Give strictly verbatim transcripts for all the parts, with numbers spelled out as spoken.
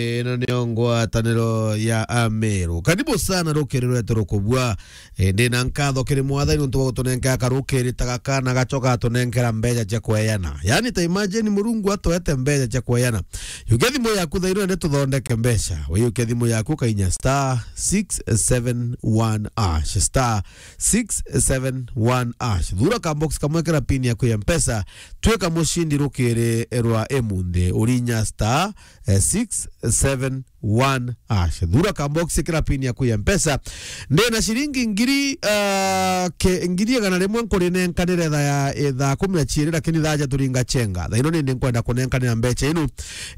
Ino niyo ngwataniro ya Ameru. Karibu sana rukiri rwetu rukubua. E, ndina nkatho kiri Mwathani nontu bwa gutunenkera karukiri ta gaka na gacoka atunenkera mbeca cia kweyana. Yani, ta imagine Murungu atwete mbeca cia kweyana. Yukia thimu yaku thaino ende tuthondeke mbeca. Wiyukia thimu yaku kainya star six seven one hash. Star six seven one hash. Thura ka box kamwe kira pin yaku ya Mpesa. Twika mucindi rukiri rwa imunthi. Urinya star, eh, six seven one hash. Thura ka box kira pin yaku ya Mpesa. Ndina ciringi ngiri, ah, ke-, ngiri igana rimwe nkurinenkanire thaa ya, eh, thaa kumi na ciiri, lakini thaa ja turinga chenga. Thaa ino nindi nkwenda kunenkanira mbeca inu.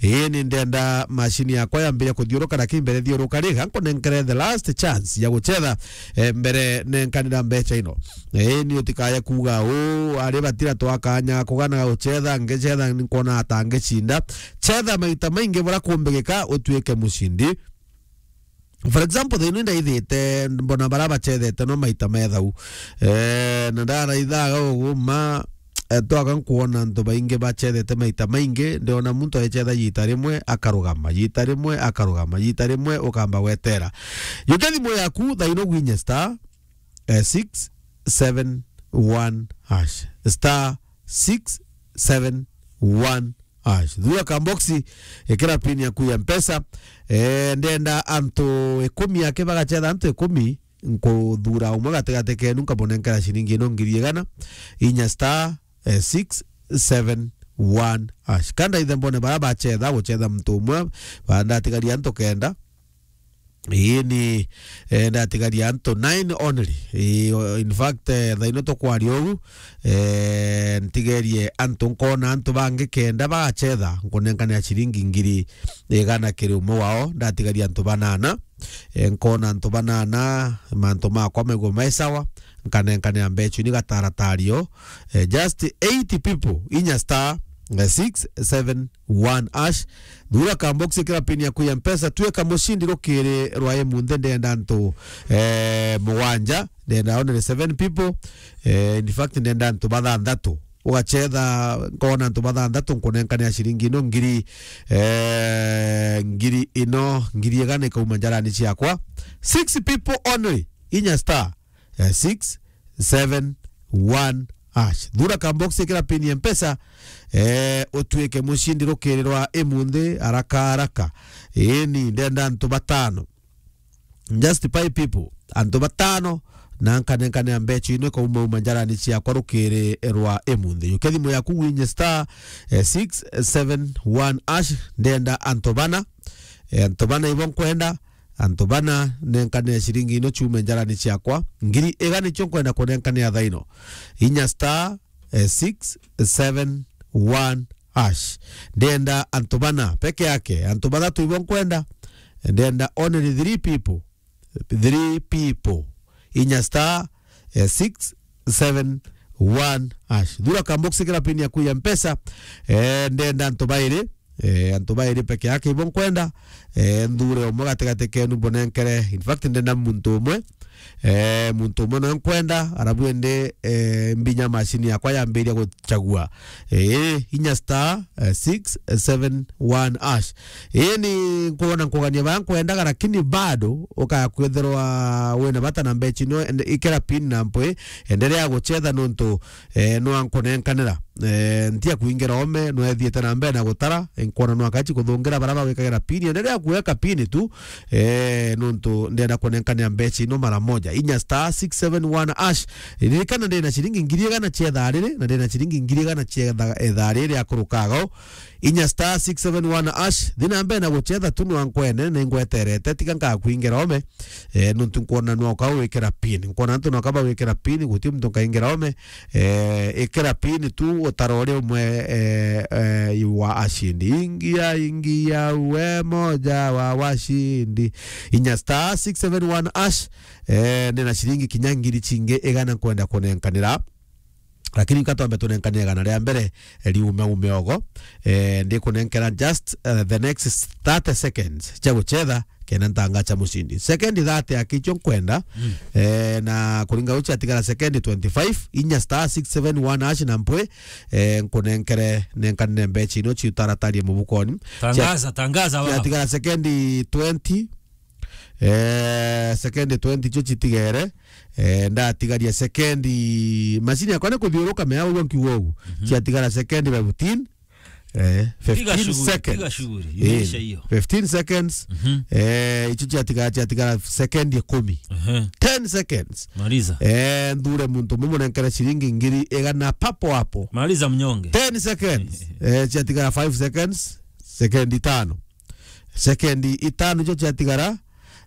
Ii, ni ndenda mashini yakwa yambire kuthiuruka, lakini mbere thiuruka ri, gankunenkere the last chance ya guchetha, eh, mbere nenkanira mbeca ino. Ii, ni utikaye kuuga, "Uu, ari batira twakanya kugana guchetha, ngichetha nkona ata ngicinda." Chetha maita maingi bura kumbigika utuike mucindi. For example, thaa ino ndaithite, mbona bara bachethete no maita methau. Eh, na ndaraithaga uguma, eh, twaga nkuona antu baingi bachethete maita maingi, ndiona muntu aichetha yita rimwe akarugama, yita rimwe akarugama, yita rimwe ukamba gwetera. Yukia thimu yaku thaa ino gwinye star, eh, six seven one hash. Star six seven one hash. Thura ka box, ikira pin yaku ya Mpesa. Eh, ndenda antu ikumi ake bagachetha antu ikumi, nkuthura umwe gatigati kenu nkamunenkera ciringi ino ngiri igana, inya star, eh, six seven one hash. Kanda ithe mbone bara bachetha, guchetha muntu umwe, ba ndatigaria antu kenda. Ii ni, eh, ndatigaria antu nine only. Ii, o-, in fact, eh, thaa ino tukwaria ugu, eh, ntigerie antu, nkona antu bangi kenda bagachetha, nkunenkanira ciringi ngiri igana kiri umwe wao, ndatigaria antu banana. Eh, nkona antu banana, mantu makwa maigua mai sawa, nkanenkanira mbeca ni gataratario. Eh, just eight people, inya star, eh, six seven one hash. Thura ka box kira pin yaku ya Mpesa, twika mucindi rukiri rwa imunthi, ndenda antu, eh, mugwanja, ndenda only seven people. Eh, in fact, ndenda antu bathanthatu. Ugachetha, nkona antu bathanthatu, nkunenkanira ciringi ino ngiri, eh, ngiri ino, ngiri igana ikauma njarani ciakwa. Six people only, inya star, eh, six seven one hash. Thura ka box, ikira pin ya Mpesa, eh, utuike mucindi rukiri rwa imunthi haraka haraka. Ii ni ndenda antu batano. Just five people. Antu batano, na nkanenkane mbeca ino ikaumauma njarani ciakwa rukiri rwa imunthi. Yukia thimu yaku winye star, eh, six seven one hash. Ndenda antu bana. Eh, antu bana ibo nkwenda. Antu bana, nenkanire ciringi ino ciume njarani ciakwa. Ngiri igana nicio nkwenda kunenkanira thaa ino. Inya star, eh, six seven one hash. Ndenda antu bana peke yake, antu bathatu ibo nkwenda. Ndenda only three people. Three people. Inya star, eh, six seven one hash. Thura ka box, ikira pin yaku ya Mpesa. Eh, ndenda antu bairi. Eh, antu bairi peke yake ibo nkwenda. Eh, nthure umwe gatigati kenu mbunenkere. In fact, ndenda muntu umwe. Eh, muntu umwe no nkwenda, arabu ende, eh, mbinya mashini yakwa yambiria guchagua. Eh, inya star, eh, six seven one hash. Ii ni nkwona nkugania baya nkwendaga, lakini bado ukaya kwithirwa wina bata na mbeca ino, ende-, ikira pin na mpwi, endelea guchetha nontu, eh, nwa nkunenkanira. Eh, ntia kuingira ome, nwa ethiite na mbere na gutara, nkwona nwa kachi kuthungira bara bagwikagira pin, endelea kuweka pin tu, eh, nontu ndenda kunenkanira mbeca ino mara moja. Inya star six seven one hash. Ririkana ndina ciringi ngiri igana cia thaa riri, na ndina ciringi ngiri igana cia tha-, eh, thaa riri akurukaga o. Inya star six seven one hash. Thi na mbere na guchetha tu nwa nkwene, ni ngweterete, tiga nkakwingira ome. Eh, nontu nkwona nwa uka wikira pin. Nkwona antu nwa kaba wikira pin, guti muntu nkaingira ome. Eh, ikira pin tu, utara uria umwe, eh, eh, wa ashindi. Ingia, ingia, uwe moja wa washindi. Inya star six seven one hash. Eh, ndina ciringi kinya ngiri cingi igana nkwenda kunenkanira. Lakini nka twambe tunenkane igana ria mbere, eh, riume ume ogo. Eh, ndikunenkera just, eh, the next thirty seconds cia guchetha. ena ntangacha mushindi. Sekendi thirty akicho nkwenda, Mm. eh, na kuringa uchi atigara sekendi twenty-five, inya star six seven one hash na mpwe, eh, nkunenkere, nenkanire mbecha ino chiutaratarie mubukoni. Tangaza, tangaza wao. Atigara sekendi twenty, eh, sekendi twenty cho chitigere, eh, ndatigaria sekendi, mashini yakwa ni kuthiuruka mea uguo nkiuga uguo. Mhm. Chiatigara sekendi fifteen, eh, Piga fifteen shughuli, seconds. Piga shughuli. Eh, imeisha hiyo. Fifteen seconds. Mhm. Eh, icho chiatigara, chiatigara sekendi ikumi. Ehe. Ten seconds. Maliza. Eh, nthure muntu umwe munenkere shilingi ngiri igana papo hapo. Maliza mnyonge. Ten seconds. Eh, chiatigara five seconds. Sekendi tano. Sekendi itano icho chiatigara,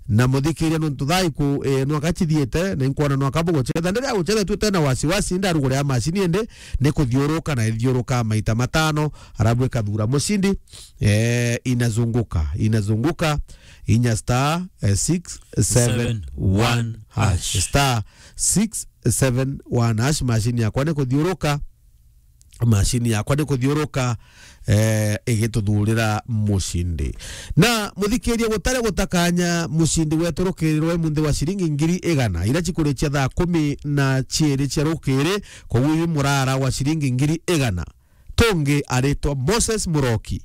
na muthikiria nontu thaa iku, eh, nwaka chithiite, na inkwona nwaka buguchetha. Ndiria guchetha tu tena wasiwasi, ndarugure ya mashini indi ni kuthiuruka na ithiuruka maita matano, arabu ikathura mushindi, eh, inazunguka, inazunguka, inya star, eh, six seven one hash. Star six seven one hash, mashini yakwa ni kuthiuruka. Mashini yakwa ni kuthiuruka, eh, igituthurira mushindi. Na muthikiria, gutari gutakanya, mushindi wetu rukirirwe munthi wa shilingi ngiri igana, ira chikurichia thaa kumi na chiiri chia rukiri, koguo iu murara wa shilingi ngiri igana. Tungi aritwa Moses Muroki.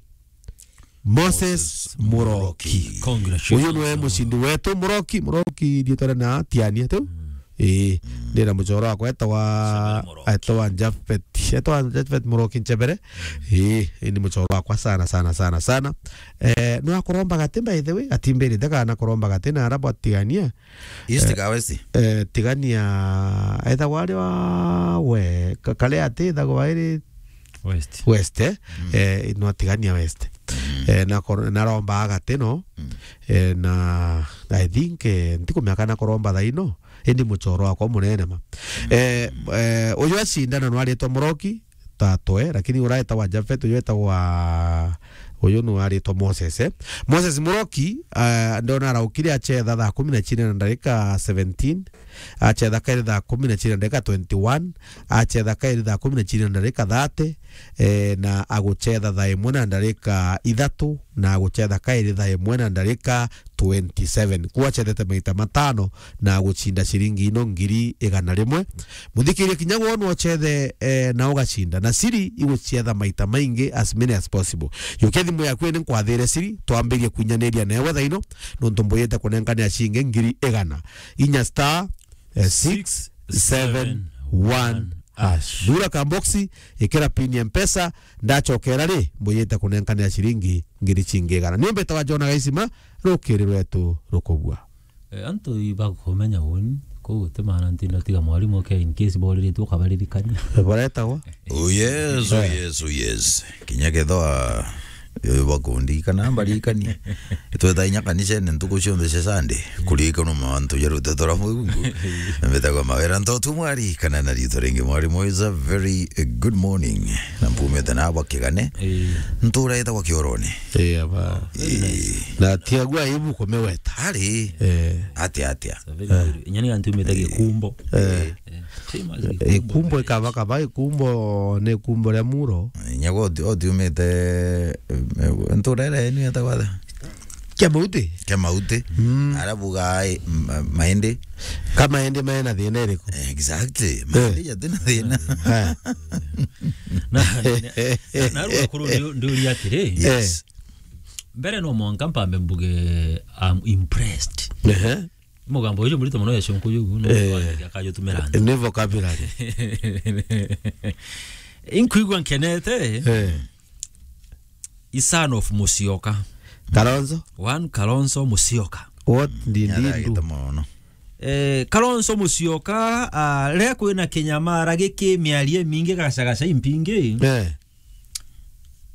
Moses Muroki. Congratulations. Uyu niwe mushindi wetu, Muroki, Muroki, ndietwa na Tiania tu. Mm. Ii, Mm. ndina muchoro wakwa etawa, Nchebere Muroki. Etawa Japhet, etawa Japhet Muroki Nchebere. Mm. Ii, ii ni muchoro wakwa sana, sana, sana, sana. Eh, nwa kuromba gati, by the way, atimbirite kana kuromba gati na arabo atigania. East ka West? Eh, tigania, ethagwa ari wa we, ka-, kare ati ethagwa iri West. West, eh? Mm. Eh, no atigania West. Mm. Eh, na kor-, na romba agati no. Mm. Eh, na I think, eh, ntikumenya kana kuromba thaino. Indi muchoro wakwa munene ma. Mm. Eh, eh, uyu acindana no aritwa Muroki, tatwe, lakini uraetagwa Japhet, uyu etagwa, uyu no aritwa Moses, eh? Moses Muroki, eh, ndona araukire achetha thaa kumi na chine na ndarika seventeen. Achetha kairi thaa kumi na chiri na ndarika twenty-one, achetha kairi thaa kumi na chiri na ndarika thirty, eh, na aguchetha thaa imwe na ndarika ithatu, na aguchetha kairi thaa imwe na ndarika twenty-seven. Kuo achethete maita matano na aguchinda ciringi ino ngiri igana rimwe. Muthikiria, kinya wonwa uchethe, eh, na ugacinda. Na siri iguchetha maita maingi, as many as possible. Yukia thimu yaku ni nkwathire siri, twambirie kuinyaniria newe thaino, nontu mbuyite kunenkanira ciringi ngiri igana. Inya star, eh, six seven one hash. Thura kamboxi, ikira pin ya Mpesa, ndachokera ri, mbuyite kunenkanira ciringi ngiri cingi igana. Ni mbetawa Jona Gaisima, rukiri rwetu rukubua. Eh, antu ibakumenya uni, kou guti maana ntinda tiga mwarimu oke in case boriritwe ukabaririkania. Baretagwa? Oh yes, oh yes, oh yes. Kinya kethwa yo bakundi kana mbarikani. Tweta inya kanisene ntuku cionthe cia Sunday. Kurikanwa mantu ja ruteto rwa Murungu. Mbetagwa Mawira Ntotu Mwari, kana na rito ringi Mwari Moiza. Very, eh, good morning. Na mpumite na bwa Kigane. Eh. Ntura etagwa Kiorone. Eh, aba. Eh. Na tiagua ibu kumeweta. Ari. Eh. Atia, atia. Very good. Inya ni antu mete Gikumbo. Eh. Eh, famous Gikumbo. Ikumbo ikaba kaba, Ikumbo ni Ikumbo ria Muro. Inya go oti-, otiumite, eh, ntura ira yenu yetagwa atia? Kia Mauti. Kia Mauti. Mm. Arabu gai, ma-, maindi. Ka maindi mena thina iriku? Exactly. Eh. Maindi jatina thina. Eh. Na, na, na, na, akuru ndi-, ndiuria atiri. Yes. Eh. Mbere no mwanka mpambe mbuge, I'm impressed. Ehe. Mugambo uyu murito mono ya shonko yu, no, eh, akajutumira. Ni vocabulary. Inkuigua nkenete. Eh. I son of Musyoka. Kalonzo? One Kalonzo Musyoka. What did he do? Nyaragite mono. Eh, Kalonzo Musyoka, ah, riria kwina kinyamara giki, miario imingi, gacagaca impingi. Eh.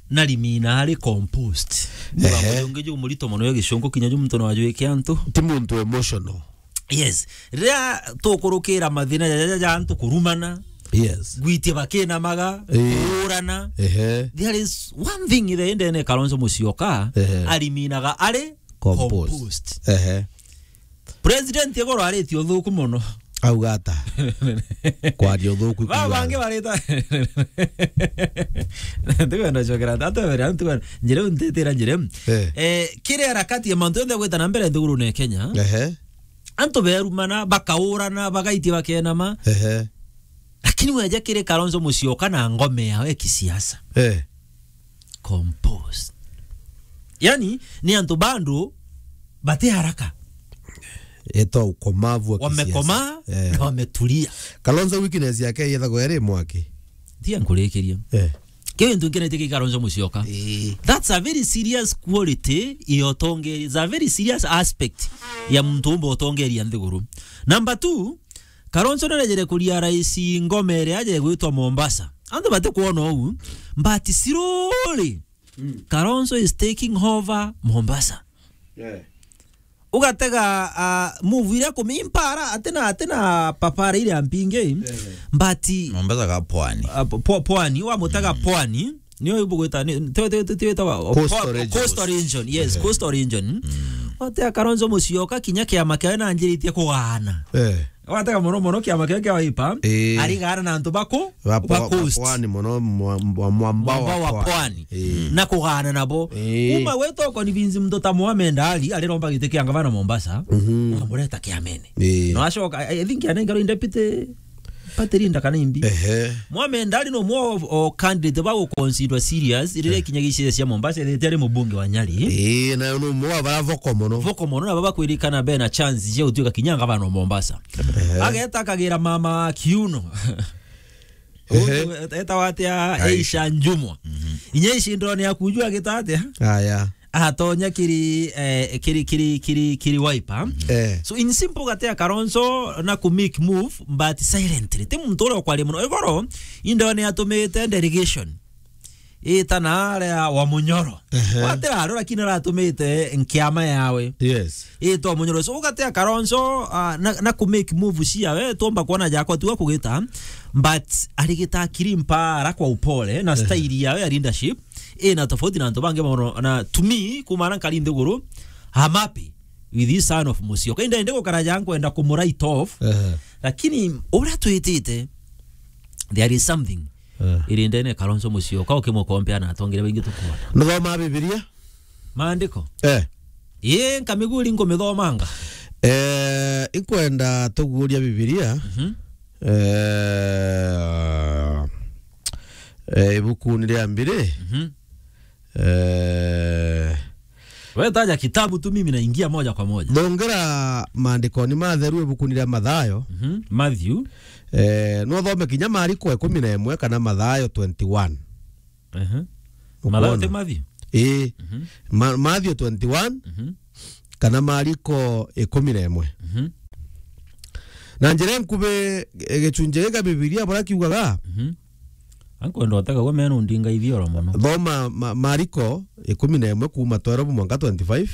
Na rimina ari composed. Ehe. Mugambo ungi ju murito mono ya gicungu kinya ju muntu no ajwike antu. Ti muntu emotional. Yes. Riria tukurukira mathina ja, ja, ja, ja antu kurumana. Yes. Gwitia bakinamaga, eh, kuurana. Ehe. There is one thing there indene Kalonzo Musyoka, ehe, ariminaga ari composed. Composed. Ehe. President igoro aritie uthuku mono. Auga ata? Kwaria uthuku. Ba bangi barita. Ntikwenda cokera ata, ata bere, ntikwenda. Njire ntitira njire. Eh. Eh, kiri harakati ya mantu yonthe gwita na mbere nthigurune ya Kenya. Ehe. Antu berumana, bakaurana, bagaitia bakenama. Ehe. Lakini weja kiri Kalonzo Musyoka na ngome yawe ya kisiasa. Eh. Composed. Yani, ni antu bado bati haraka. Eta ukomavu wa kisiasa. Wamekomaa, eh, na wametulia. Kalonzo weakness yake yethagwo eri mwaki. Tia nkurikiria. Eh. Kiu ntu nkenete ki Kalonzo Musyoka. Eh. That's a very serious quality ya utongeria. It's a very serious aspect ya muntu umba utongeria nthiguru. Number two, Kalonzo narejere kuria rais ngome iria aje gwitwa Mombasa. Antu batikwona uu, but slowly, mm, Kalonzo is taking over Mombasa. Yeah. Ugatega, ah, move iria kumimpara, atina, atina papara iria mpingi, yeah, but Mombasa ga pwani. Ah, pw-, pw-, pwani, wamutega, mm, pwani, niyo ibugwita, ni, ti, ti, ti, ti, witawa, Coastal pwa-, regions. Coastal region, yes, ehe, coastal region. Mm. Watega Kalonzo Musyoka, kinya kiama kiawe nanjiritie kugaana. Eh. Watega mono mono kiama kiawe kia Wiper, eh, arigaana na antu baku, ba pwa-, ba coast. Ba pwani mono mwa-, mwa-, mwamba wa pwani. Mwamba wa pwani. Eh. Na kugaana nabo. Eh. Kuma gwita ukonvince muntu ta Mohamed Ali, ariromba giti kia ngavana Mombasa, mhm, ukamureta kiamene. Eh. No acoka, I, I think anengerwe deputy party leader kana imbi. Ehe. Mohamed Ali no mwe o, o candidate ba guconsider serious, riria, eh, ikinya giciria cia Mombasa, riria ari mubunge wa Nyali. Eh, na no mwe bara vocal mono. Vocal mono, na baba kwirikana be na chance cia gutuika kinya ngavana wa Mombasa. Ehe. Ageta akagira mama kiuno. Ehe. Untu etawa atia? Aisha. Aisha Njumwa. Mhm. Inya ici ndone ya kujua gita atia? Aya. Atonya kiri, eh, kiri, kiri, kiri, kiri Wiper. Eh. So in simple, gatia Kalonzo na ku make move, but silently. Ti muntu uria ukwaria mono. Igoro, indone atumite delegation. Ita na aria wa Munyoro. Ehe. Watira ario, lakini aratumite nkiama yawe. Yes. Ita wa Munyoro. So, ugatia Kalonzo, ah, na, na ku make move ciawe, tumba kuona jakwa tu akugita, but arigita akiri mpara kwa upole, na, ehe, style yawe ya leadership, ina tofauti na antu bangi mono, na to me, kuma na nkari nthiguru, I'm happy with this son of Musyoka. Inda indi gukara ja nkwenda kumu write off, ehe, lakini uria twitite, there is something. Eh. Iri ndene Kalonzo Musyoka, ukimukompea na atongeria baingi tukuona. Nuthoma Bibilia? Maandiko? Eh. Ii, nkamiguri nkumithomanga. Eh, inkwenda tuguria Bibilia. Mhm. Eh, eh, ibukuni ria mbiri. Mhm. Eh, wetaja kitabu tu, mimi naingia moja kwa moja. Thongera maandikoni matheru ibukuni ria Mathayo. Mhm. Matthew. Eh, no thome kinya Mariko ikumi na imwe kana Mathayo twenty-one. Ehe. Ukwona? Mathayo ti Matthew? Ii. Mhm. Ma-, Matthew twenty-one, mhm, kana Mariko ikumi na imwe. Mhm. Na njira nkubi, e, gicunji giki kia Bibilia buria kiugaga, mhm, ankwenda utega gwe menu ndinga ithioro mono. Thoma Ma-, Mariko ikumi na imwe kuuma twelve mwanka twenty-five.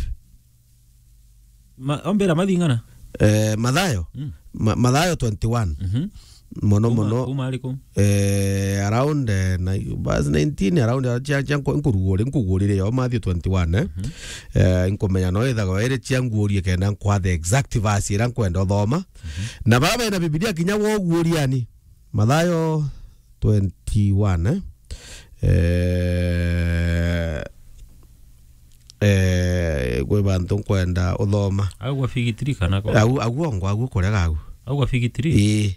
Ma-, ombira mathing'ana? Eh, Mathayo? Mm. Ma-, Mathayo twenty-one. Mhm. Mono, kuma, mono. Kuma ariku? Eh, around, eh, na, verse nineteen, around, eh, cia, cia nku-, nkuguri-, nkugurire yo, Matthew twenty-one, eh? Mhm. Eh, nkumenya no ithagwa iri cia ngurie kenda nkwa the exact verse ira nkwenda uthoma. Mhm. Na bara bena Bibilia kinya wo guriani. Mathayo twenty-one, eh? Eh, eh, kwi bantu nkwenda uthoma. Au kwa figitiri kana kwa? Au, au ongo, au kurega au. Au kwa figitiri? Ii.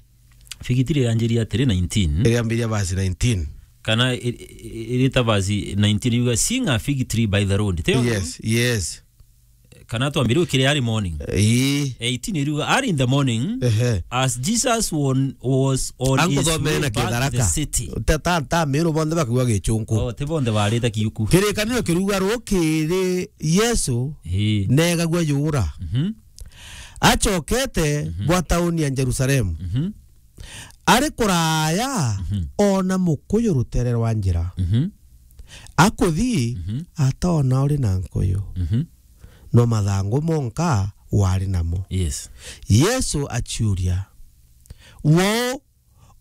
Figitiri yanjiria atiri nineteen. Iriambiria verse nineteen. Kana i-, i-, irita verse nineteen yuga, "Seeing a fig tree by the road." Tio? Yes, yes. Kana twambire ukiri early morning. Ii. Eighteen iriuga, "Early in the morning, ehe, as Jesus won-, was on his way back to the city." Anguthomere na Kitharaka. Ta, ta, ta, Meru bonthe bakigua Gichunku. Oh, ti bonthe barite Kiuku. Kirikaniro kiruga rukiri Yesu, ii, negagua yura. Mhm. Acokete, mhm, bwa tauni ya Jerusalemu. Mhm. Ari kuraya, mhm, ona mukuyu rutere rwa njira. Mhm. Akuthi, mhm, atona uri na nkuyu. Mhm. No mathangu monka wari namo. Yes. Yesu aciuria, "Wou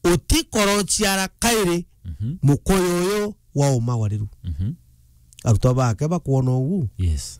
utikorociara kairi, mhm, mukuyu uyu wa umagwariru?" Mhm. Arutwa bake bakwona ugu, yes,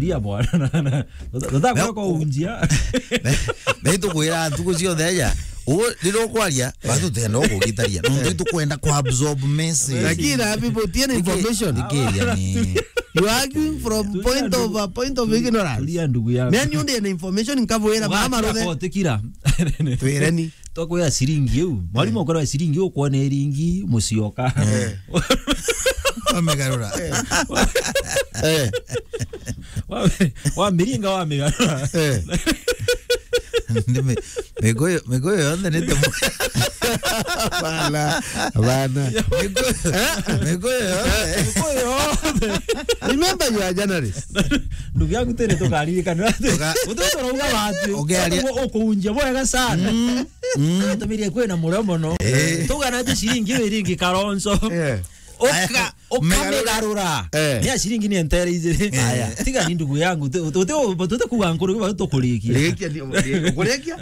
Tulia bwana. Tata kwa unjia. Na itukwira ntuku ciothe aja. Ugu riria ukwaria, batutenda ukugitaria. Nontu itukwenda ku absorb message. Lakini na people tiene information. Ikiria ni. You are arguing from point of a point of ignorance. Tulia ndugu yangu. Mimi ndio na information nkabwira mama rothe. Kotikira. Twireni. Twakwira ciringi iu. Mwalimu akorwa ciringi ukwona iringi mucioka. Amegarura. Eh. Wa-, wamiringa, wamigarura. Eh. Ni mi-, miguyu, miguyu yonthe ni timu. Bana, bana. Miguyu, miguyu yonthe. Miguyu yonthe. Remember you are journalist. Ndugu yangu, tene tukaririkana. Tuka- Utu turauga watu. Ugearia- Uku-, ukuunjia bwega sana. Mm. Mm. Atumirie kwina murio mono. Eh. Tugana ati ciringi iringi Kalonzo. Eh. Uka- Aya, ukamigarura. Eh. Ni ya ciringi ni entere ijiri. Eh. Aya. Tiga ni ndugu yangu, tu-, tu-, tu-, tutikuga nkuru, tukurikia. Rikia, ni-, ri-, ukurikia?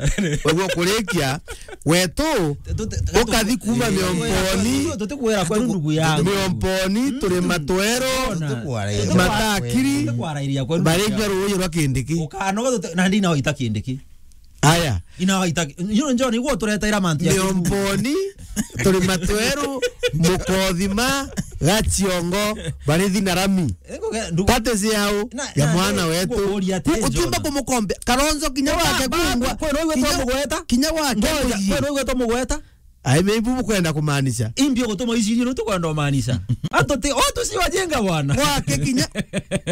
Wewe ukurikia, wetu, tu-, tu-, ukathi kuma Miomponi, tutikuwira kwa ndugu yangu. Miomponi, turi matwero, ona. Matakiri, tutikuwarairia kwa ndugu yangu. Barenga ruuji rwa Kindiki. Ukanoga tute-, na ndina waita Kindiki. Aya. Ina waita, you know, John, igwo tureteira mantu ya Miomponi, turi matweru, Mukothima, Gaciongo, Barithi na Rami. Ego ge-, ndu- Tate ciao, na, ya na, mwana na, wetu. Ngukuria ati, u-, utimba John. Kumukombe. Kalonzo kinya wake kungwa. Kwero igwe twamugweta? Kinya wake. Ngoja, kwero igwe twamugweta? Ai, maybe bukwenda kumaanisha. Imbi gutuma iciri, no tukwenda umaanisha. Antu ti, o tucio ajenga bwana. Wake kinya,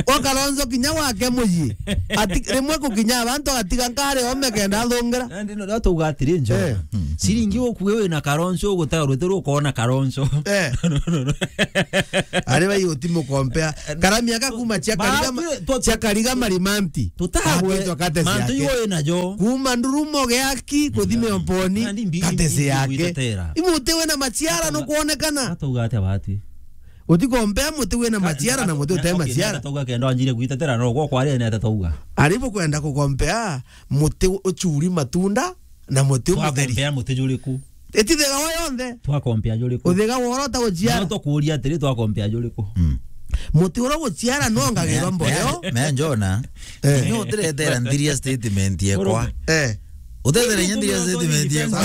o Kalonzo kinya wake muyi. Ati, rimwe kukinya abantu agatiga nkari ome kenda athungira. Na ndino ndio tuga atiri, Njo. Eh. Ciringi ukue wina Kalonzo, ugutega rwete rukona Kalonzo. Eh. No, no, no. Ari bai utimukompea. Karami aka kuma cia Kariga ma-, cia Kariga Marimanti. Tutagwe. Aketwa Katesi mantu yake. Igo ina jo. Kuma Ndurumo Geaki kuthime Omponi, Nandi mbi-, Katesi mbi-, yake. Mbitetera. Imuti wina maciara nukwonekana. Atauga atia bati? Utikompea muti wina maciara na muti utee maciara. Atauga kenda anjire gwitetera, no gwo kwari ene atauga. Aribu kwenda kukompea muti ucuri matunda na muti umutheri. Twakompea muti juriku? Iti thiga wa yonthe. Twakompea juriku? Uthiga wa uria utaguciara. No tukuria atiri, twakompea juriku? Mm. Muti uria uguciara no ngagirwa mboyo. Me, me, me njona. Eh. Inyo utiretera nthiria statement yekwa. Eh. Utetere inyo nthiria statement yekwa.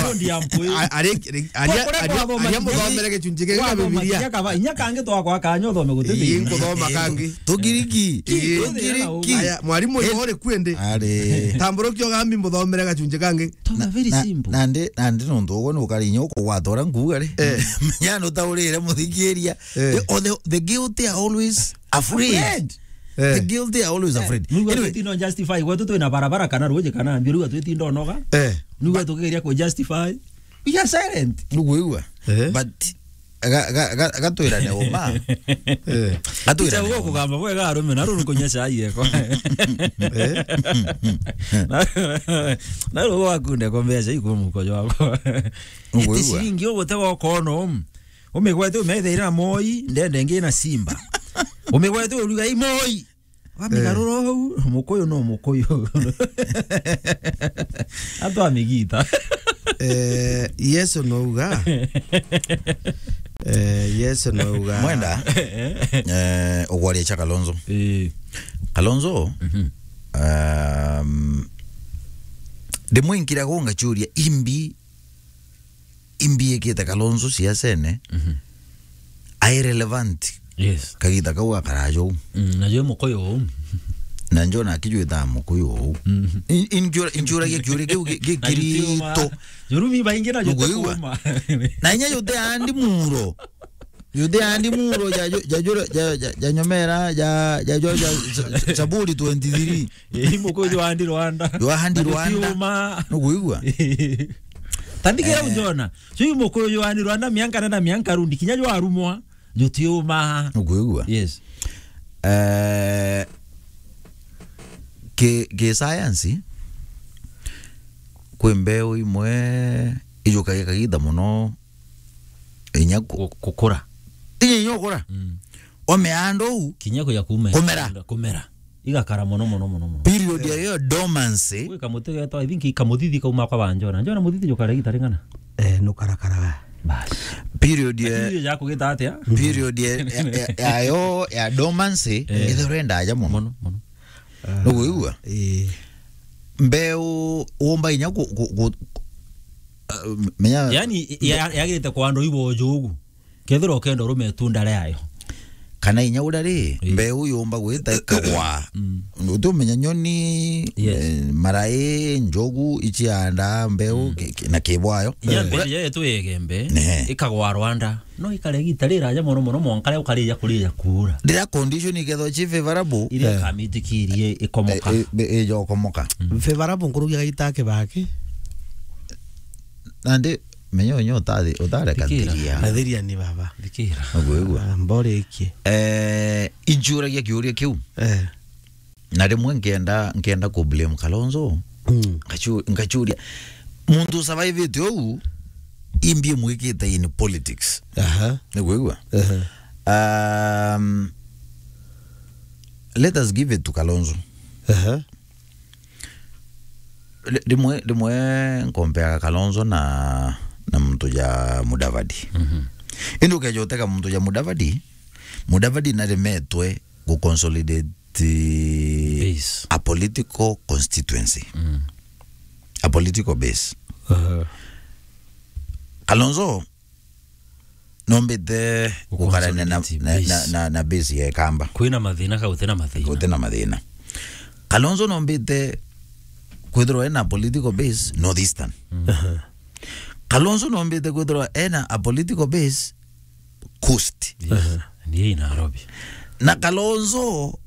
A-, ari, ari, aria, aria, aria muthomere gicunji giki kia Bibilia. Inya kangi twakwa kanya uthome guti. Ii, nkuthoma kangi. Tugiriki. Ii. Tugiriki. Aya, mwarimu uyu uri kwende. Ari. Tamburukia ugambi muthomere gacunji kangi. Toma, very simple. Na, na ndi, na ndi nontu ugwe nukari inya ukugwata uria nkuuga ri. Eh. Menya nutaurire muthikiria. Eh. The, or the, the guilty are always afraid. Afraid. Eh. The guilty are always afraid. Nigwe anyway, twitindo justify, gwetu twina barabara kana ruji kana mbiru, gwetu twitindo noga. Eh. Nigwe tukigeria ku justify. We are silent. Nukwigua? Eh. But ga, ga, ga, gatwirane uma. Eh. Gatwirane uma. Kugamba bwega arume, na ruru kunya chai yeko. Eh. Na, na ruru wakunde ko mbeca iku muko jwako. Nukwigua? Iti ciringi ugutega ukono. Umigwete umethaira na Moi, ndende ngi na Simba. Umigwete uruga i Moi. Wamigarura uu, Mukuyu no Mukuyu. Atwamigita. Eh, Yesu nouga. Eh, Yesu nouga. Mwenda, eh, ugwaria cha Kalonzo. Eh. Kalonzo, mhm, um, ndimwinkira gunga churia imbi imbiikite Kalonzo siasene, mhm, ai relevant. Yes. Kagita kau akaraja uu. Mm, na jwe Mukuyu uu. Na njo nakijwita Mukuyu uu. Mm. In-, injura-, injuragia kiuria kiu gi-, gi-, na kirito. Jurumi baingi na jute kuuma. Na inya jute andi muro. Jute andi muro ja, ja, ja, ja, ja, ja nyomera, ja, ja, ja, ja, Zaburi twenty-three. Ii, Mukuyu jwa andi Rwanda. Jwa andi Rwanda. Jutiuma. Nukwigua? Tandikira, eh, unjona. Chui Mukuyu jwa andi Rwanda, mianka na mianka rundi, kinya jwa rumwa, jutiuma. Nukwigua? Yes. Eh, ki, ki science, kwi mbeu imwe ijukagia kagita muno inya ku-, gu-, gukura. Inya, inya gukura. Mm. Omeanda uu. Kinya kuya kume-, kumera. Kumera. Igakara mono, mono, mono, mono. Period ya, eh, yo dormancy. Gwi kamuti getwa, I think, kamuthithi kauma kwa banjona. Njona muthithi jukara igita ring'ana? Eh, nukarakaraga. Bas. Period ya, lakini iyo jakugita atia? Period ya, ya, ya, ya yo, ya dormancy, eh, ithirwe ndaja mono. Mono, mono. Ah, nukwigua? Ii. Mbeu umba inya ku, ku, ku, ah, menya. Yani, ya, yagirite kwa andu ibo ujugu. Kethira ukenda urume itunda riayo. Kana inya uria ri, ii, mbeu yumba gwita ikagwa. Mm. Utumenya nyoni, yes, eh, marai, njogu, icianda mbeu, mm, ki-, ki-, na kibwayo. Inya mbeu yetu yegembe, ne, ikagwa Rwanda. No ikare gita riraja mono mono, mwanka ria ukarija kurija kuura. Riria condition ikethwa ci favorable, iria, eh, ikamitikirie ikomoka. I-, i-, ijokomoka. Mm. Favorable nkurugia gaita kibaki. Nandi, menya unyo utathi-, utareka. Thikira. Thiria. Athiria ni baba. Thikira. Ugwigua? Ah, mbore iki. Eh, inchuragia kiuria kiu. Eh. Na rimwe nkienda, nkienda ku blame Kalonzo. Mm. Ngachu-, ngachuria, muntu survive-ite uu, imbi mwikite in politics. Aha. Ni kwigua? Aha. Um, let us give it to Kalonzo. Aha. Ri-, rimwe, rimwe nkompeaga Kalonzo na, na muntu ja Mudavadi. Mhm. Indi ukeja utega muntu ja Mudavadi, Mudavadi naremetwe gu consolidate base, a political constituency. Mm. A political base. Aha. Kalonzo nombite gu gukarania na, consolidate na, base, na, na, na base ya Ikamba. Kwina mathina ka gutina mathina? Gutina mathina. Kalonzo nombite kwithirwa ena political base North Eastern. Mm. Aha. Kalonzo nombite kwithirwa ena a political base Coast. Yes. Aha. Ni i Nairobi. Na Kalonzo,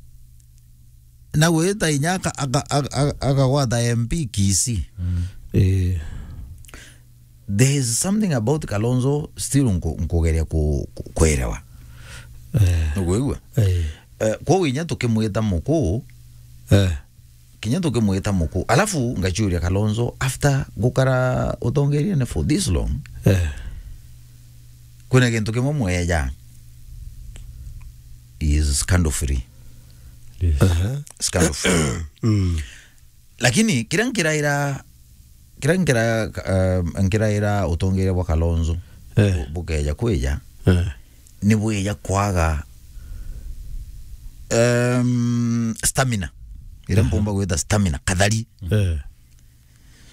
na gwita inya aka-, aka-, aka-, aka-, akagwata M P Kisii. Mm. Eh. There is something about Kalonzo still nku-, nkugeria ku-, ku-, kwerewa. Eh. Nugwigua? Eh. Eh, kwoguo inya tukimwita mukuu, eh, kinya tukimwita mukuu. Alafu ngachuria Kalonzo, after gukara utongeriene for this long, eh, kwina gintu kimwe mweja, he is scandal free. Yes. Aha. Scandal free. Mm. Lakini kiria nkiraira, kiria nkira-, um, nkiraira utongeria bwa Kalonzo, eh, bu-, bukeja kwija, eh, ni bwija kwaga, um, stamina. Iria, aha, mpumba gwita stamina, kathari. Eh.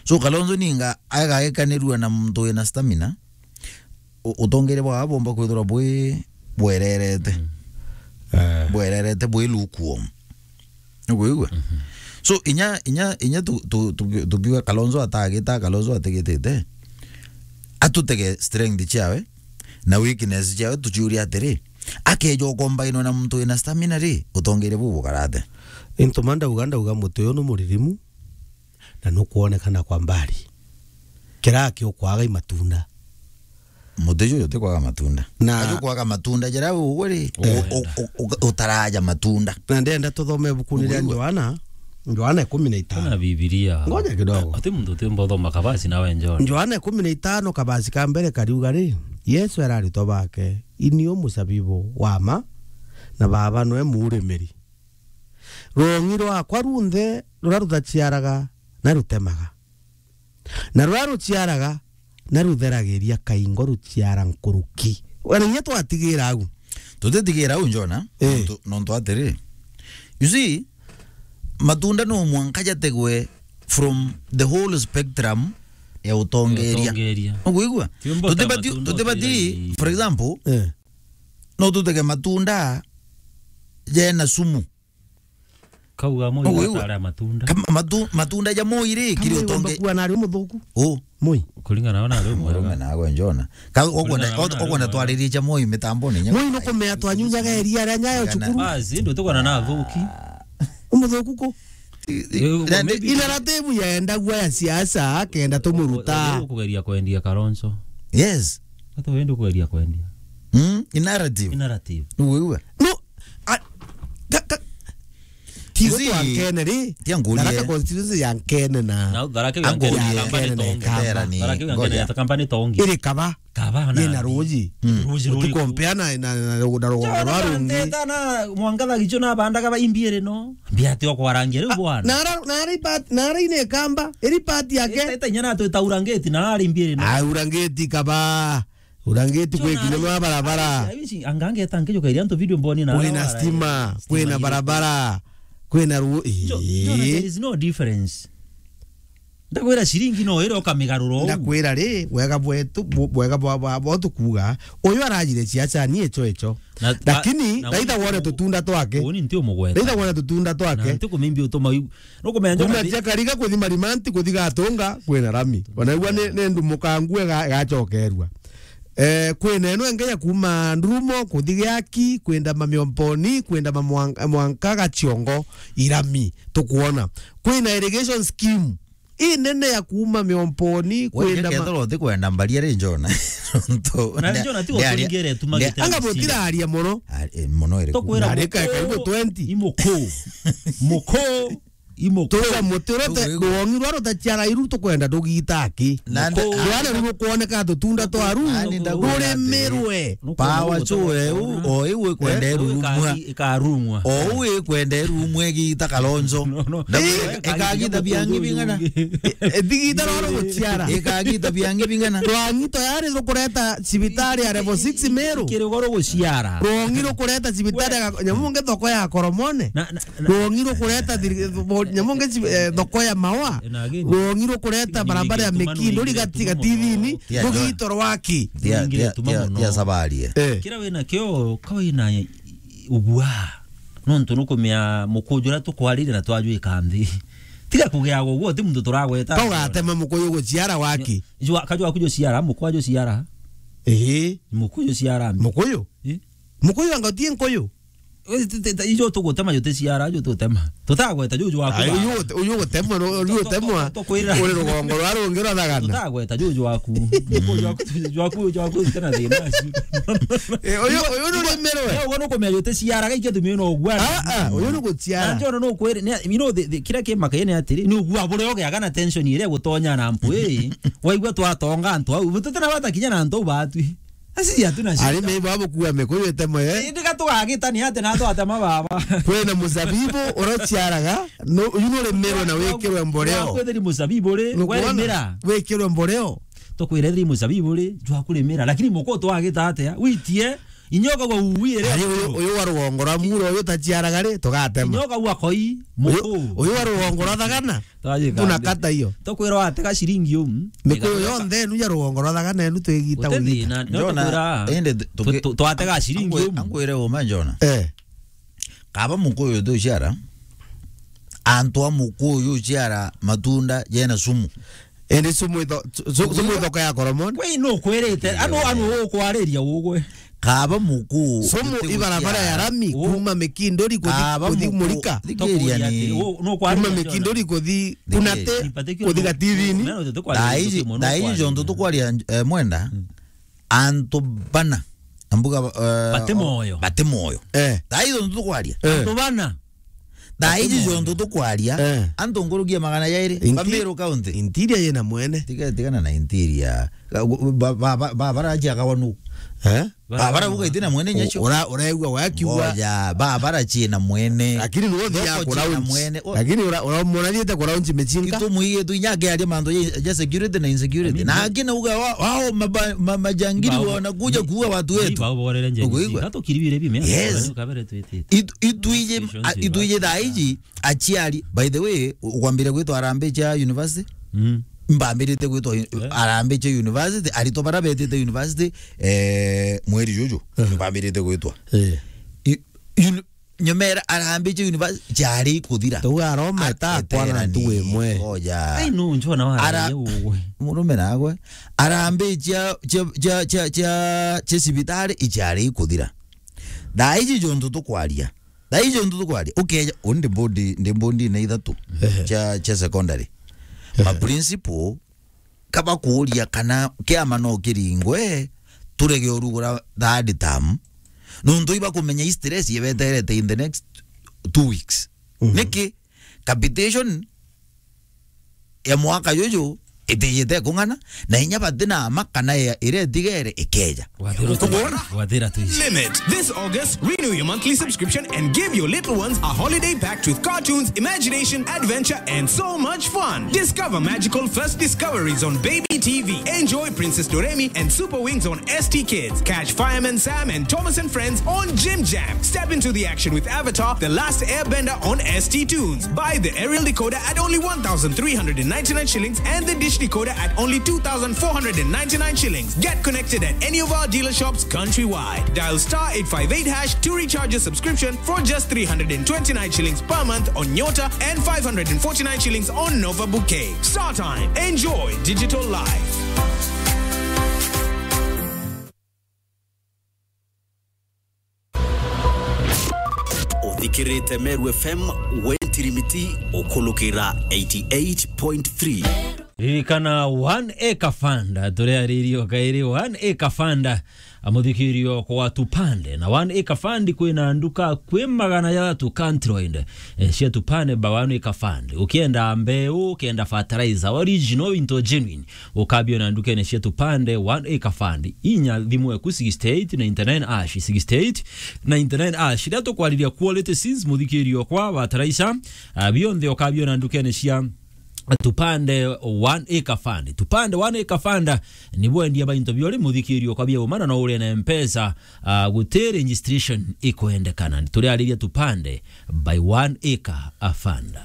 So, Kalonzo ninga agagikanirua na muntu wina stamina, u-, utongeria bwao bumba kwithirwa bwi bwererete. Mm. Eh. Bwererete, bwi lukewarm. Nugwigua? Mhm. So, inya, inya, inya tu-, tu-, tu-, tukiuga Kalonzo atagita, Kalonzo atigitite, atutege strength ciawe na weakness ciawe, tuciuria atiri, akeja ukombainwa na muntu wina stamina ri, utongeria buu bukarate? Into ma ndauga, ndauga muti uyu ni muririmu, na nukwonekana kwa mbali. Kiraa kiukwaga i matunda. Muti juju ti kwaga matunda. Na ajo kwaga matunda, jara ugwe ri, eh, u-, u-, u-, utaraja matunda. Na ndenda tuthome ibukuni ria Ugwigua? Johana, Johana ikumi na itano. Kana Bibilia. Ngoja kidogo. Ati muntu utiumba uthoma kabasi nawe Johana. Johana ikumi na itano kabasi ka mbere kariuga ri, Yesu era aritwa bake, "Ini u musabibu wa ma, na Baba nwe muurimiri." Rwong'i rwakwa runthe ruria rutaciaraga na rutemaga, na ruria ruciaraga na rutheragiria kaingo ruciara nkuruki. Wena inya twatigira au. Tutitigira au, Jona, eh, nontu, nontu atiri. You see, matunda no mwanka jategwe from the whole spectrum ya utongeria. Ya utongeria. Ugwigua? Tiumba ta tutibati, matunda tutibati, utigairi. For example, eh, no tutege matunda jena sumu. Kauga moi, ugwigua? Atara matunda. Kama matu-, matunda ja moi ri, kiri utonge. Kuwa nari muthuku. U. Moi. Kuringana na nari murume nawe Jona. Ka-, ukwenda, ukwenda twaririe ja moi mitamboni nya. Moi nukumea twanyunyaga iria ria nyayo cukuru. Basi, ndu tukona na thuki. Umuthuku ku? I-, i-, eh, na maybe ina ratibu yaendagua ya siasa, akenda tumuruta. Kugeria kwendia Kalonzo. Yes. Ati wendi kugeria kwendia. Mm, i narrative. I narrative. Nugwigua? No, a, ka, ka, tigo twa Nkene ri. Tia ngurie. Tharaka constituency ya Nkene na. Na Tharaka ya Nkene na Kamba ni tongi. Tharaka ya Nkene na Kamba ni tongi. Iri kaba. Kaba na. Yina ruji. Mm. Ruji ruri. Utikompea na, na, na, na rugunda rwa rungi. Nteta na mwangatha gicho na bandaga ba imbiere no. Mbiate okwarangia riu bwana. Nara, nara ipat-, nara ine Kamba. Iri part yake. Ita, ita inya na tu taurangeti na ari imbiere no. Aura ngeti kaba. Urangiti kwi kinya nwa barabara. Anga ngeta nkijuka iria antu video mboni na kwina stima, kwina barabara, kwina ru-, jo, jo, there is no difference. Ndakwira ciringi no ire ukamigarura uu. Ndakwira ri, wega bwetu, bu-, bwega bwa, bwa, bwa tukuga, uyu arajire ciaca ni echo echo. Na, lakini, na, na raitha wone tutunda twake. Uni nti umugweta. Raitha wone tutunda twake. Na nti kumimbi utuma yu-, nukumenya njona. Kuma cia Kariga kuthi Marimanti, kuthi Gatunga, kwina rami. Ona igua ni, ni ndumukangu ega-, igacokerua. Eh, kwina eno enge ya kuma Ndurumo, kuthi Giaki, kwenda Mamiomponi, kwenda Mamwang-, Mwanka Gaciongo, irami, tukuona. Kwina irrigation scheme inene ya kuma Miomponi, kwenda ma- kethirwa utikwenda mbaria ri Njona. Nontu na Njona tigo turingire tumagite anga mutiraria muno. Ah, eh, muno iri. Tukwira ari ka karibu twenty. Imuku. Muku. Imuku. Tuga muti rote, rwongi rwa rutaciara iru tukwenda ndugita aki. Na nda- rwana rukwoneka tutunda twaru. Ani ndakwira atiri, ruremerwe. Power chue u, o iu ikwenda irurumwa. Ikarung'wa. O u ikwenda irurumwa igita Kalonzo. No, no. Na ikagiita biangi bing'ana. Ithigita roro guciara. Ikagiita biangi bing'ana. Rwangi tayari rukureta cibitari ya level six Meru. Kiri goro guciara. Rwangi rukureta cibitari ya nyamunge thoko ya Koromone. Na, na, na, rwangi rukureta thiri-, bo-, nyamunge ci-, eh, thoko ya mawa. Na again, rwangi rukureta barabara ya Mikindo rigati gatithini. Rugito rwaki. Tia, tia, tia, tia sabarie. Eh. Kira wina kio, ka wina ubua. Nontu nukumia mukuju uria tukwaririe na twajwika nthi. Tiga kugiaga uguo, ti muntu turagweta. Tugatema mukuyu guciara waki. Jwa, kajwa kuju ciara, mukuju ciara. Ehe. Mukuju ciara. Mukuyu? Eh? Mukuyu anga utie nkuyu? Ijo tugutema, juticiara, jututema. Tutagweta juju waku. Ai, uyu gute-, uyu gutemwa, no, uyu gutemwa. Tukwira. Uri rugongo rwa rungi rwa thagana. Tutagweta juju waku. Juku jwaku, jwaku, jwaku, tena thina acio. Eh, uyu, uyu ni rumerwe. Uyu nukumenya juticiara, gaikia tumio no ugwa. Ah, ah, uyu ni guciara. Anjo no kwere, you know, the, the, kira kimaka ni atiri, ni ugwa bure ogeaga na tension iria gutonya na mpu, eh. Waigua twatonga antu au, tutena bata kinya na antu batwi. Asi hatuna shida. Arimi ibo abukua mikuyu itemo ye. Indi gatugagitania ati na twatema baba. Kwina muzabibu urociaraga, no, uyu nuremerwe na wikirwe mboreo. Kwethiri muzabibu ri, nukwona? Weremera. Wikirwe mboreo. Tukwire thiri muzabibu ri, jwa kurimira. Lakini muko twagita atia? Witie, inyoka gwa uwi ri. Ari uyu, uyu wa rugongo rwa muro uyu taciaraga ri, tugatema. Inyoka gwa koi, muko. Uyu, uyu wa rugongo rwa thagana. Twajika tunakata iyo. Tukwira watega ciringi umu. Mikuyu yonthe enu ya rugongo rwa thagana enu twigita ugita. Njona, indi tu-, tu-, twatega ciringi umu. Angwire uma Njona. Eh. Kaba mukuyu tu ciara. Antu a mukuyu ciara matunda jena sumu. Indi sumu itho-, su-, su-, sumu ithoko ya Koromoni. We no kwirite, anu, anu ukwariria ugwe. Kaba muku. Sumu ibarabara ya rami, kuma Mikindori kuthi, kuthi Murika. Thikiria ni. Kuma Mikindori kuthi Kunate, kuthi Gatithini. Thaiji, thaiji jontu tukwaria, eh, Mwenda. Antu bana. Ambuga, eh, bati moyo. Bati moyo. Eh. Thaiji jontu tukwaria. Eh. Antu bana. Thaiji jontu tukwaria. Eh. Antu nkurukia magana jairi. Inti-, Bamiru County. Interior yena mwene. Tiga, tigana na interior. Ba, ba, ba, ba, barajia kawanu. Eh? Ba, bara buga itina mwene nyecho. Ura, uraigua wakiuga. Ngoja, ba, bara chie na mwene. Lakini nuo thia ku launch. Lakini ura, ura mwana thiete ku launch michinga. Itu muiye tu inya ke aria mantu ya, ya security na insecurity. Na akina uga wa, wao maba-, ma-, majangili wanakuja kuua watu wetu. Ba borere nje. Uguigua? Gato kiribire bime. Yes. Ukabere twitite. Itu, itu ije, a, itu ije thaiji. Aciari, by the way, u-, ukwambire gwitwa Harambee cha university? Mm. Mbambirite gwitwa u-, Harambee cha university, aritwa bara betite university, eh, mweri juju. Mbambirite gwitwa. Eh. I-, uni-, nyomera Harambee cha university, chari kuthira. Tuga aroma ta kwana ntu imwe. Oja. Ai, no, njona wa Ara-, ugwe. Murume nagwe. Harambee cha, cha, cha, cha, cha, cha cibitari, ichari kuthira. Thaiji jontu tukwaria. Thaiji jontu tukwaria, ukeja, uni ndi bondi, ndi bondi na ithatu cha, cha secondary. Ma principal, kaba kuuria kana kiama no kiringwe, turege urugura third term. Nuntu iba kumenya i stress yebeterete in the next two weeks. Niki? Capitation ya mwaka juju, Itijite kung'ana, na inya batina ama kana ya iria itigere ikeja. Wathira tu. Wathira tu. Limit. This August, renew your monthly subscription and give your little ones a holiday packed with cartoons, imagination, adventure, and so much fun. Discover magical first discoveries on Baby T V. Enjoy Princess Doremi and Super Wings on S T Kids. Catch Fireman Sam and Thomas and Friends on Jim Jam. Step into the action with Avatar: The Last Airbender on S T Tunes. Buy the aerial decoder at only one thousand three hundred and ninety-nine shillings and the dish decoder at only two thousand four hundred and ninety-nine shillings. Get connected at any of our dealer shops countrywide. Dial star eight five eight hash to recharge your subscription for just three hundred and twenty-nine shillings per month on Nyota and five hundred and forty-nine shillings on Nova Bouquet. Star Time. Enjoy digital life. Uthikirite Meru F M, we ntirimiti ukulukira eighty-eight point three. Ririkana One Acre Fund, turiaririe o kairi One Acre Fund, a muthikirio kwa Tupande. Na One Acre Fund kwina nduka kwi magana jathatu countrywide, eh, cia Tupande by One Acre Fund. Ukienda mbeu, ukienda fertilizer, original into genuine, ukabiona ndukene cia Tupande One Acre Fund. Inya thimu eku sixty-eight ninety-nine hash, sixty-eight ninety-nine hash. Riria tukwariria quality seeds, muthikirio kwa fertilizer, ah, bionthe ukabiona ndukene cia Tupande One Acre Fund. Tupande One Acre Fund ni bwendia ba into biori muthikirio kwa bia umana no urie na Mpesa, ah, guti registration ikwendekana. Turiariria Tupande by One Acre Fund.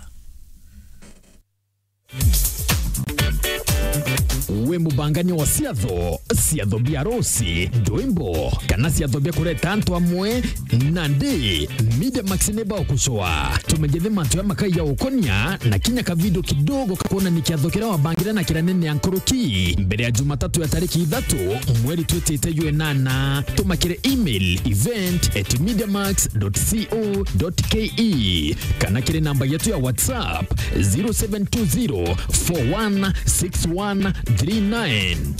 Wi mubangania wa ciatho, ciatho bia arusi, ndwimbo, kana ciatho bia kureta antu amwe? Nandi, Media Max ni bagucua. Tumenyithie mantu ya makai ya ukonia na kinya kavidio kidogo ka kuonania kiatho kiria wabangire na kiria nene ya nkuruki mbere ya Jumatatu ya tariki ithatu mweri twitite jwa inana. Tuma kiri email event at mediamax dot co dot ke kana kiri namba yetu ya WhatsApp, zero seven two zero four one six one three nine.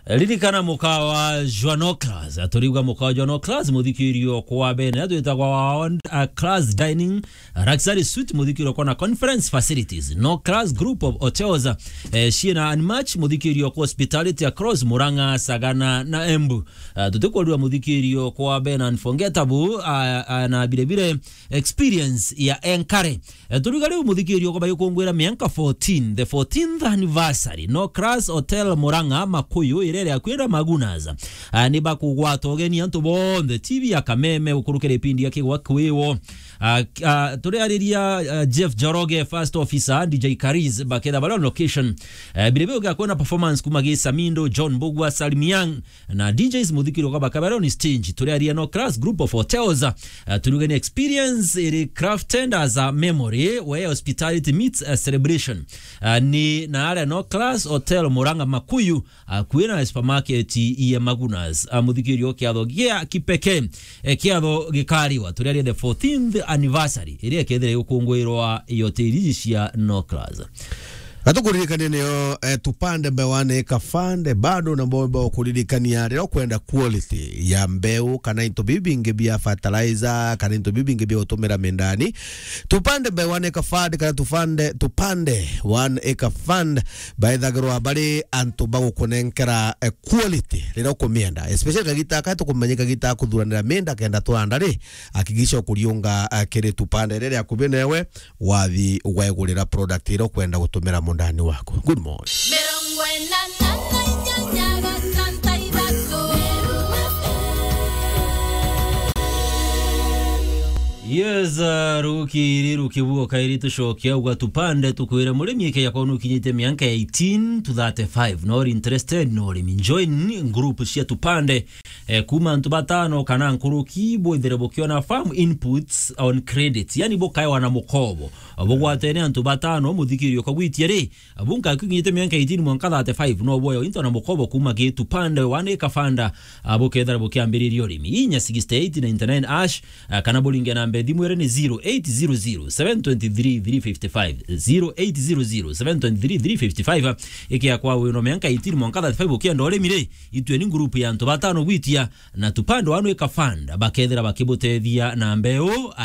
Ririkana mukawa jwa No Class. Aturiuga mukawa jwa No Class, muthikirio kwa bene, atwitagwa wa on, uh, Class Dining, Luxury Suite, muthikirio kwa na conference facilities. No Class Group of Hotels, eh, ciina Unmatch, muthikirio kwa hospitality across Murang'a, Sagana na Embu. Ah, tutikwariria muthikirio kwa bene unforgettable, ah, ah, na bire bire experience ya enkare. Eh, turiga riu muthikirio kwa bayukungwira mianka fourteen, the fourteenth anniversary, No Class Hotel Murang'a Makuyu, iria iri akui na Magunas. Ah, ni bakugwata ugeni antu bonthe, T V ya Kameme, gukurukira ipindi ya Kigwa Kwiwo. Ah, ah, turiariria, ah, Jeff Joroge, first officer, D J Kariz, baketha bari on location. Eh, bire biu gakwona performance kuma gi Samindo, John Mbugua, Salim Young, na D Js muthikirio kwa bakabera on stage. Turiaria No Class Group of Hotels. Uh, turiuga ni experience iri crafted as a memory where hospitality meets a celebration. Uh, ni na aria No Class Hotel Murang'a Makuyu, uh, kwina supermarket ya Magunas. Uh, muthikirio kiatho gia kipekee, eh, kiatho gikariwa. Turiaria the fourteenth anniversary iria ikethira igukungwirwa i hoteli iji cia No Class. Gatukuririkania niyo, eh, Tupande by One Acre Fund, bado na bomba ukuririkania riria ukwenda quality ya mbeu kana into bibingi bia fertilizer kana into bibingi bia utumira mindani. Tupande by One Acre Fund kana Tupande, Tupande One Acre Fund baithagirwa bari antu bagukunenkera, eh, quality riria ukumienda. Especially kagita ka tukumenya kagita kuthuranira minda kenda twanda ri, hakikisha ukuriunga, eh, kiri Tupande riria akubi newe. Wathi waigurira product iria ukwenda gutumira mundani waku. Good morning. Mirongo ina na inyanya gatantu ithatu. Yes, uh, rukiri rukibuo kairi tucokia ugwa Tupande tukwire murimi ikeya kwona ukinyite mianka ya eighteen to thirty-five. No uri interested no urimi, join group cia Tupande, eh, kuma antu batano kana nkuruki bwithire bukiona farm inputs on credit, yani bukaewa na mukobo. Bugwatene antu batano, muthikirio kagwitie ri, bunka kikinyite mianka eighteen mwanka thirty-five, no bwoyo into na mukobo kuma gi Tupande One Acre Fund, ah, bukethira bukiambiriria urimi. Inya sixty-eight ninety-nine hash, ah, kana buringe namba thimu iri ni zero eight zero zero seven twenty-three three fifty-five, zero eight zero zero seven twenty-three three fifty-five, ah, ikia kwa wino mianka eighteen mwanka thirty-five ukienda urimi ri, itue ni group ya antu batano gwitia, na Tupande One Acre Fund bakethira bakibutethia na mbeu,